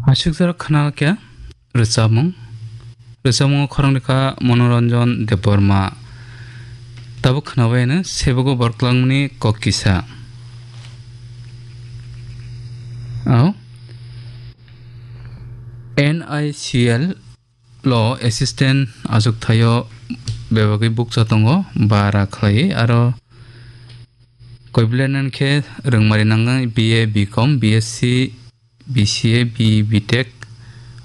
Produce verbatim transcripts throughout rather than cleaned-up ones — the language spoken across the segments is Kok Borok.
Aswk jora khna khe rwchapmung. Rwchapmungo khorang rwkha Manoranjan Debbarma. Tabuk khnabaino sebogo borok twlangmani kok kisa. Ao N I C L lo assistant achukthai-o bebagwi bukcha tongo, bara khlaiwi aro koiblenen khe rwngmari nangnai B A, B Com, B S C, B C A, B E, B Tech,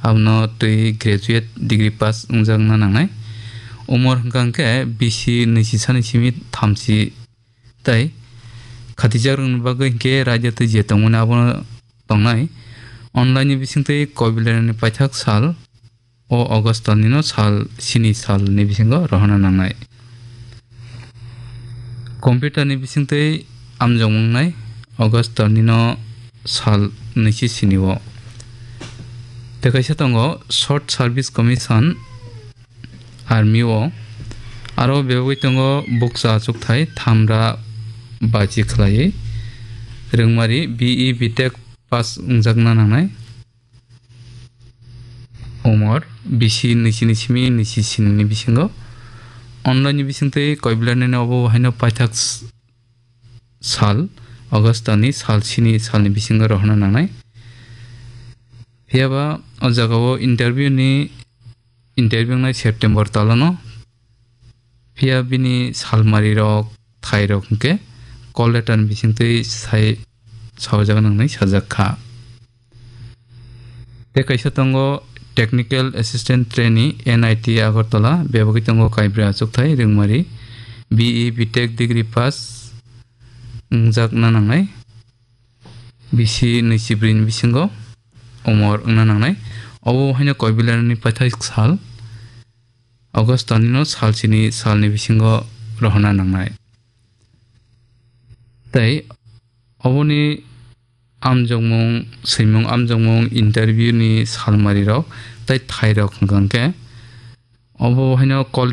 abono twi graduate degree pass wngjakna nangnai. Umor hwnkha hwnkhe bisi nwichi sani simi thamchi tei khatijak rwngni bagwi hwnkhe raida twi je tongmani abono tongnai. Online ni bisingtwi koibleni paithak sal o August talnino sal sini salni bisingo rohorna nangnai. Computer ni bisingtwi amjokmung nai August talnino sal nwichi sini o. Tei kaisa tongo Short Service Commission, Army o. Aro bebagwi tongo bukcha achukthai thamra bachi khlaiwi rwngmari B E, B Tech pass wngjakna nangnai. Umor bisi nwichi ni simi nwichi sini ni bisingo. Online ni bisingtwi koiblani obo haino paithak s-, sal, August ni sal sini salni bisingo rohorna nangnai. Phiyaba o jagao interview ni, interview wngnai September talano. Phiya bini salmari rok, thai rok hwnkhe call letter ni bisingtwi sai saojakna nangnai sajak kha. Tei kaisa tongo Technical Assistant Trainee, N I T Agartala, bebagwi tongo kaibra achukthai rwngmari, B E, B Tech degree pass wngjakna nangnai, bisi nwichi bwrwini bisingo umor wngna nangnai. Obo haino koibilani paithak sal, August talnino sal sini salni bisingo rohorna nangnai. Tei oboni amjokmung, swimung amjokmung, interview ni salmari rok tei thai rok hwnkha hwnkhe obo haino call